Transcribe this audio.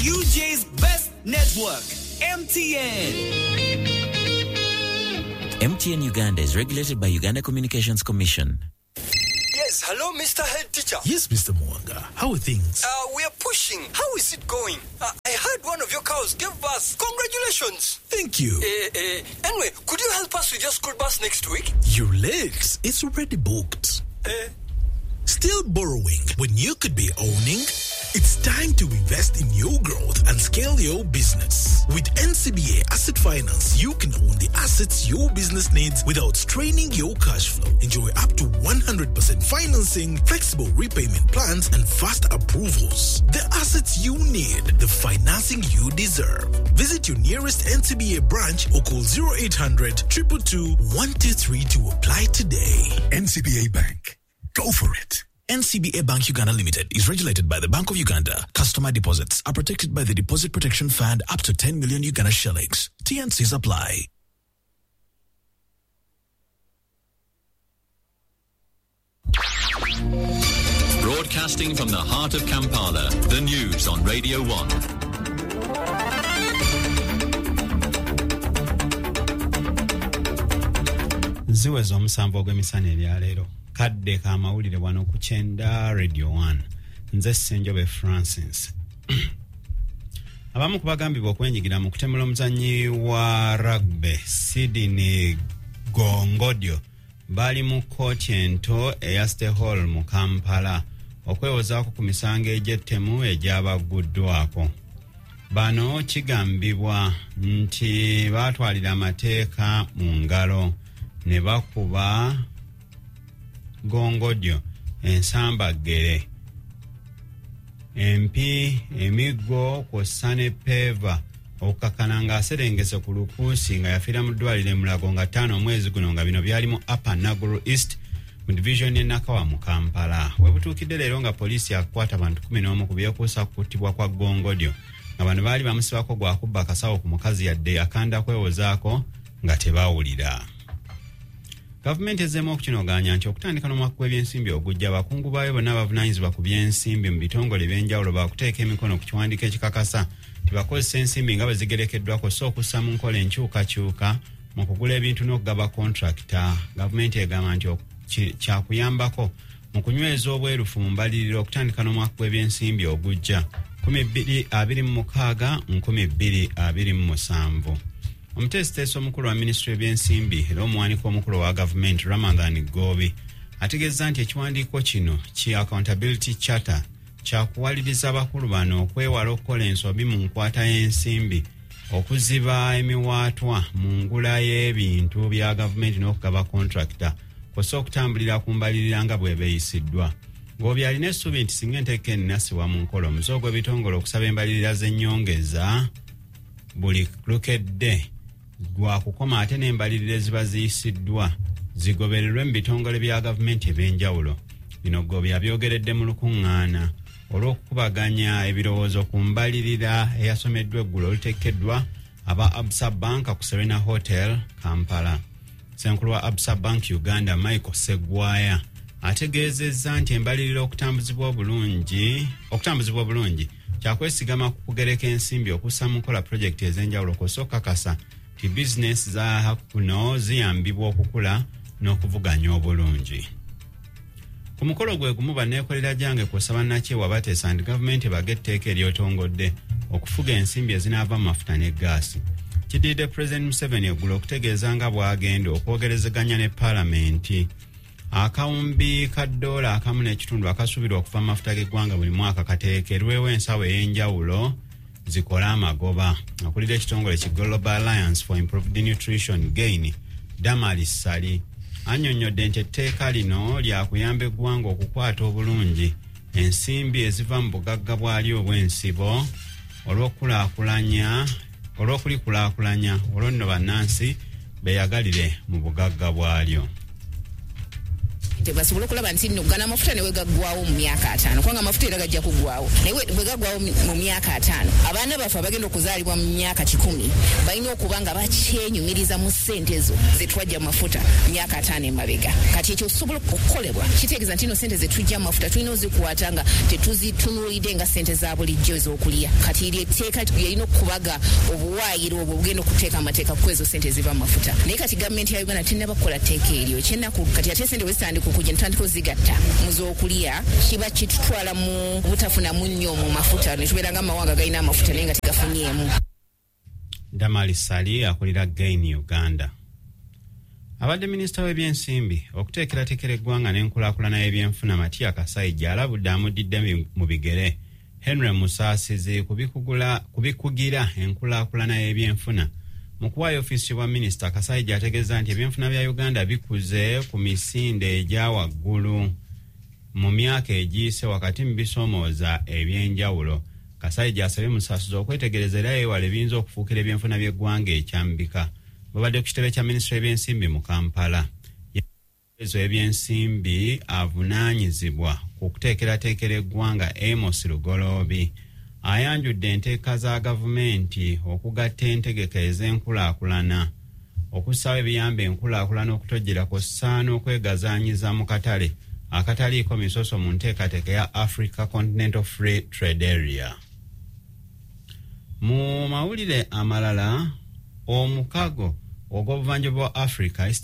UJ's best network, MTN. MTN Uganda is regulated by Uganda Communications Commission. Yes, hello, Mr. Head Teacher. Yes, Mr. Mwanga. How are things? We are pushing. How is it going? I heard one of your cows gave birth. Congratulations. Thank you. Anyway, could you help us with your school bus next week? You're late. It's already booked. Still borrowing when you could be owning? It's time to invest in your growth and scale your business. With NCBA Asset Finance, you can own the assets your business needs without straining your cash flow. Enjoy up to 100% financing, flexible repayment plans, and fast approvals. The assets you need, the financing you deserve. Visit your nearest NCBA branch or call 0800 222 123 to apply today. NCBA Bank. Go for it. NCBA Bank Uganda Limited is regulated by the Bank of Uganda. Customer deposits are protected by the Deposit Protection Fund up to 10 million Uganda shillings. TNCs apply. Broadcasting from the heart of Kampala, the news on Radio 1. Ziweza omusanvu ogw'emisana ebyaleero. Kadde ka mawulire wano ku Kyenda Radio 1. Nze Ssenjobe Francis. Abamu ku bagambibwa okwenyigira mu kutemula omuzannyi wa rugby Sydney Gongodyo bali mu kkooti ento eya City Hall mu Kampala okwewozaako ku misango egy'ettemu egyabagguddwako. Bano kigambibwa nti baatwalira amateeka mu ngalo ne bakuba Gongodyo ensambaggere, empi, emiggo kw'ossa ne peeva okukakkana ng'aserengese ku lukuusi nga yafiira mu ddwaliro e Mulago nga 5 omwezi guno, nga bino byali mu Upper Naguru East mu division y'e Nakawa mu Kampala. We butuukidde leero nga poliisi yakukwata abantu 11 ku byekuusa ku kuttibwa kwa Gongodyo, nga bano baali bamusibako gwa kubba akasawo ku mukazi yadde akanda kwewozaako nga tebawulira. Gavumenti ezzeemu okukinogaanya nti okutandika n'omwaka gw'ebyensimbi ogujja abakungu baayo bonna bavunaanyizibwa ku byensimbi mu bitongole ebyenjawulo baakuteeka emikono ku kiwandiiko ekikakasa nti bakozesa ensimbi nga bwe zigerekeddwa kw'ossa okussa mu nkola enkyukakyuka mu kugula ebintu n'okugaba kontrakita. Gavumenti egamba nti kyakuyambako mu kunyweza obwerufu mu mbalirira okutandika n'omwaka gw'ebyensimbi ogujja 2026 2027. Omuteesiteesi omukulu wa minisitule y'ebyensimbi era omuwandiika omukulu wa gavumenti Ramadhan Gobi ategeeza nti ekiwandiiko kino ki Accountability Charter kyakuwaliriza abakulu bano okwewala okukola ensobi mu nkwata y'ensimbi, okuziba emiwaatwa mu ngula y'ebintu bya gavumenti n'okugaba kontrakita kw'ossa okutambulira ku mbalirira nga bw'ebeeyisiddwa. Gobi alina essuubi nti singa enteeka eno enassibwa mu nkola, omuze ogw'ebitongole okusaba embalirira z'ennyongeza buli lukedde gwakukoma ate n'embalirira eziba ziyisiddwa zigobererwe mu bitongole bya gavumenti ebyenjawulo. Bino Gobi abyogeredde mu lukuŋŋaana olw'okukubaganya ebirowoozo ku mbalirira eyasomeddwa eggulo oluteekeddwa aba Absa Bank ku Serena Hotel, Kampala. Ssenkulu wa Absa Bank Uganda Michael Segwaya ategeezezza nti embalirira okutambuzibwa obulungi kyakwesigama ku kugereka ensimbi okussa mu nkola pulojekiti ez'enjawulo kw'ossa okukakasa nti bizinesi za kuno ziyambibwa okukula n'okuvuganya obulungi. Ku mukolo gwe gumu banneekolera gyange kw'ossa bannakyewa bateesa nti gavumenti ebaga etteeka eryotongodde okufuga ensimbi ezinaava mu mafuta ne ggaasi. Kiddiridde Pulezidenti Museveni eggulo okutegeeza nga bw'agenda okwogerezeganya ne paalamenti. Akawumbi ka ddoola 1.5 akasuubirwa okuva mu mafuta g'eggwanga buli mwaka kateekerwewo ensawo ey'enjawulo zikole amagoba. Akulira ekitongole ki Global Alliance for Improved Nutrition Gain, Damali Ssali, annyonnyodde nti etteeka lino lyakuyamba eggwanga okukwata obulungi ensimbi eziva mu bugagga bwalyo obw'ensibo olw'okulikulaakulanya olwo nno bannansi beeyagalire mu bugagga bwalyo. Basobole okulaba nti nno gano amafuta ne wegaggwawo mu myaka 5, kubanga amafuta era gajja kuggwawo, naye bwe gaggwawo mu myaka 5, abaana baffe abagenda okuzaalibwa mu myaka 100 balina okuba nga bakyenyumiriza mu ssente ezo ze twajja mu mafuta myaka 5 emabega. Kati ekyo okusobola okukolebwa kitegeeza nti nno ssente ze tujja mu mafuta tulina ozikwata nga tetuzitunuulidde nga ssente za bulijjo ez'okulya. Kati eryo etteeka lyerina okubaga obuwaayiro obwo obugenda okuteeka amateeka ku ezo ssente eziva mu mafuta. Naye kati gavumenti ya Uganda tennaba kukola tteeka eryo. Ekyennaku kati ate ssente bwe zitandika okujja ne tutandika ozigatta mu z'okulya, kiba kitutwala mu butafunamu nnyo mu mafuta, ne tubeera nga amawanga galina amafuta naye nga tegafunyeemu. Damali Sali akulira Gain Uganda. Abadde minisita w'ebyensimbi, okuteekerateekera eggwanga n'enkulaakulana y'ebyenfuna Matia Kasaija alabudde amuddidde mu bigere Henry Musaasizi ku bikugira enkulaakulana y'ebyenfuna. Mu kuwaayo ofiisi bwa minisita, Kasaija ategeeza nti ebyenfuna bya Uganda bikuze ku misinde egya waggulu mu myaka egiyise wakati mu bisoomooza ebyenjawulo. Kasaija asabye Musaasizi okwetegereza era yeewale ebiyinza okufuukira ebyenfuna by'eggwanga ekyambika. Babadde ku kitebe kya minisitule y'ebyensimbi mu Kampala. Ezo ebyensimbi avunaanyizibwa ku kuteekerateekera eggwanga Amos Lugoloobi ayanjudde enteeka za gavumenti okugatta entegeka ez'enkulaakulana, okussaawo ebiyamba enkulaakulana okutojjera kw'ossa n'okwegazaanyiza mu katale akataliiko misoso mu nteekateeka ya Africa Continental Free Trade Area. Mu mawulire amalala, omukago ogw'obuvanjuba bwa Africa, East